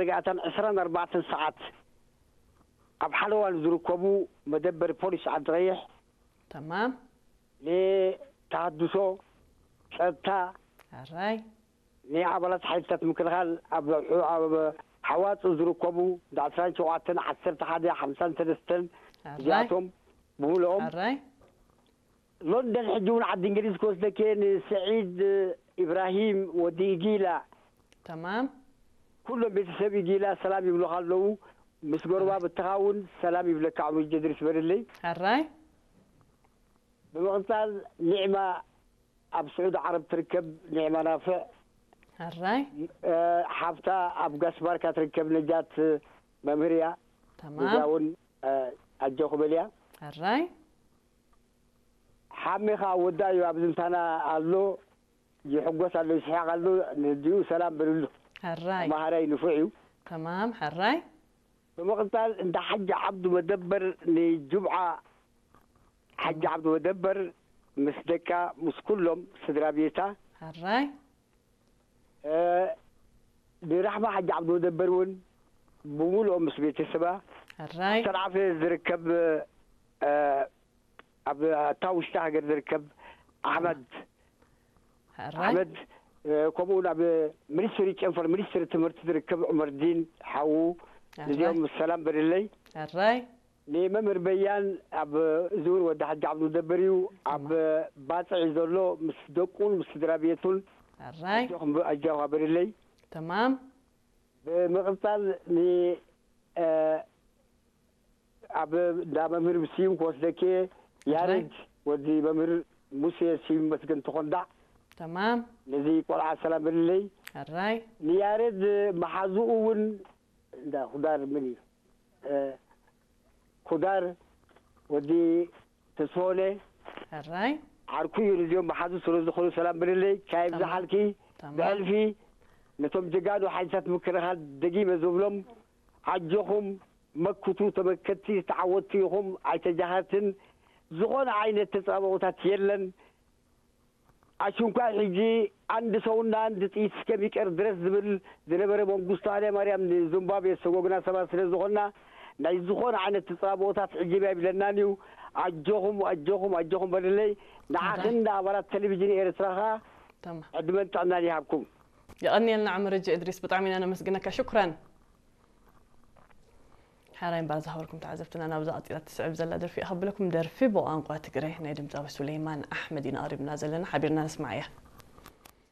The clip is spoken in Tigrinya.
ርግኣታን ዕስራን ኣርባዕተን ሰዓት ኣብ ሓለዋ ንዝርከቡ መደበር ፖሊስ ዓዲ ቀይሕ تمام ንተሃድሶ፣ ጸጥታ፣ ሕራይ ንኣባላት ሓይልታት ምክልኻል ኣብ ኣብ ሓዋጽ ዝርከቡ እንዳ ዕስራን ሸውዓተን፣ ዓሰርተ ሓደ፣ ሓምሳን ሰለስተን ሕራይ እዚኣቶም ብምልኦም ሕራይ ሎንደን ሕጂ እውን ዓዲ እንግሊዝ ክወስደኪ ንስዒድ ኢብራሂም ወዲ ኢጊላ تمام ኩሎም ቤተሰብ ኢጊላ ሰላም ይብሉኻ ኣለዉ። ምስ ጎረባብትኻ እውን ሰላም ይብለካ። ዕሙር ጀድሪስ በልለይ። ሕራይ ብምቕጻል ኒዕማ ኣብ ስዑድ ዓረብ ትርከብ፣ ኒዕማ ናፍዕ ሕራይ እ፣ ሓፍታ ኣብ ጋስባርካ ትርከብ ነጃት መምህር እያ። እዚኣ تمام እውን እ፣ ኣጆኹ በልያ። ሕራይ ሓሜኻ ወዳ እዩ ኣብዚ ምሳና ኣሎ፣ ይሕጎስ ኣሎ፣ ይስሕቕ ኣሎ። ንዲኡ ሰላም በልሉ። ሕራይ ተማሃራይ ንፉዕ እዩ። تمام ሕራይ ብምቕጻል እንዳ ሓጂ ዓብዱ መደበር ንጅምዓ ሓጂ ዓብዱ መደበር ምስ ደቃ ምስ ኩሎም ስድራ ቤታ ሕራይ እ፣ ንራሕማ ሓጂ ዓብዱ መደበር እውን ብምሉኦም ምስ ቤተሰባ ሕራይ ሰንዓፈ ዝርከብ እ፣ ኣብ ኣታ ውሽጢ ሃገር ዝርከብ ኣሕመድ ሕራይ ኣሕመድ እ፣ ከምኡ እውን ኣብ ሚኒስትሪ ጨንፈር ሚኒስትሪ ትምህርቲ ዝርከብ ዑመርዲን ሓዉ እዚኦም ምስ ሰላም በልለይ። ሕራይ ንመምህር በያን ኣብ እዚ እውን ወዲ ሓጂ ዓብዱ መደበር እዩ። ኣብ ባፅዕ ዘሎ ምስ ደቁን ምስ ስድራ ቤቱን ሕራይ ኣጆኹም ኣጆኻ በልለይ። تمام ብምቕፃል ን እ፣ ኣብ እንዳ መምህር ስዩም ክወስደኪ ያሬድ ወዲ መምህር ሙሴ ስዩም መስገን ተኾንዳዕ تمام ነዚ ቆልዓ ሰላም በልለይ። ሕራይ ንያሬድ መሓዝኡ እውን እንዳ ኩዳር ምን እዩ እ፣ ኩዳር ወዲ ተስሆነ ሕራይ ዓርኩ እዩ። ንዚኦም መሓዙ ስለ ዝኾኑ ሰላም በልለይ። ካይብ تمام ዝሓልኪ تمام ብሕልፊ ነቶም ጀጋኑ ሓይልታት ምክልኻል ደጊመ ዝብሎም ኣጆኹም መክቱ ተመከትቲ ዝተዓወትቲ ኢኹም፣ ኣይተጃሃርትን። ዝኾነ ዓይነት ተጻብኦታት የለን። ኣሽንኳይ ሕጂ አንድ ሰውና አንድ ጥይት እስከሚቀር ድረስ ዝብል ዝነበረ መንግስቱ ሃይለማርያም ንዚምባብዌ ዝሰጎግና ሰባት ስለ ዝኾንና ናይ ዝኾነ ዓይነት ተጻብኦታት ዕጅብ ኣይብለናን እዩ። ኣጆኹም ኣጆኹም ኣጆኹም በልለይ። ንዓኽን ንኣባላት ቴሌቪዥን ኤርትራ ኸኣ تمام ዕድመን ጥዕናን ይሃብኩም። የቐንየልና ዕምር እጅ እድሪስ ብጣዕሚ ኢና ነመስግነካ ሽኩራን። ሓራይ እምበር ዝሃበልኩም ተዓዘብትና ናብዛ ቀፂላ ትስዕብ ዘላ ደርፊ እያ ከብለኩም። ደርፊ ብቋንቋ ትግረ ናይ ድምፃዊ ሱሌይማን ኣሕመድ ኢና ቀሪብና ዘለና፣ ሓቢርና ንስማዕ እያ።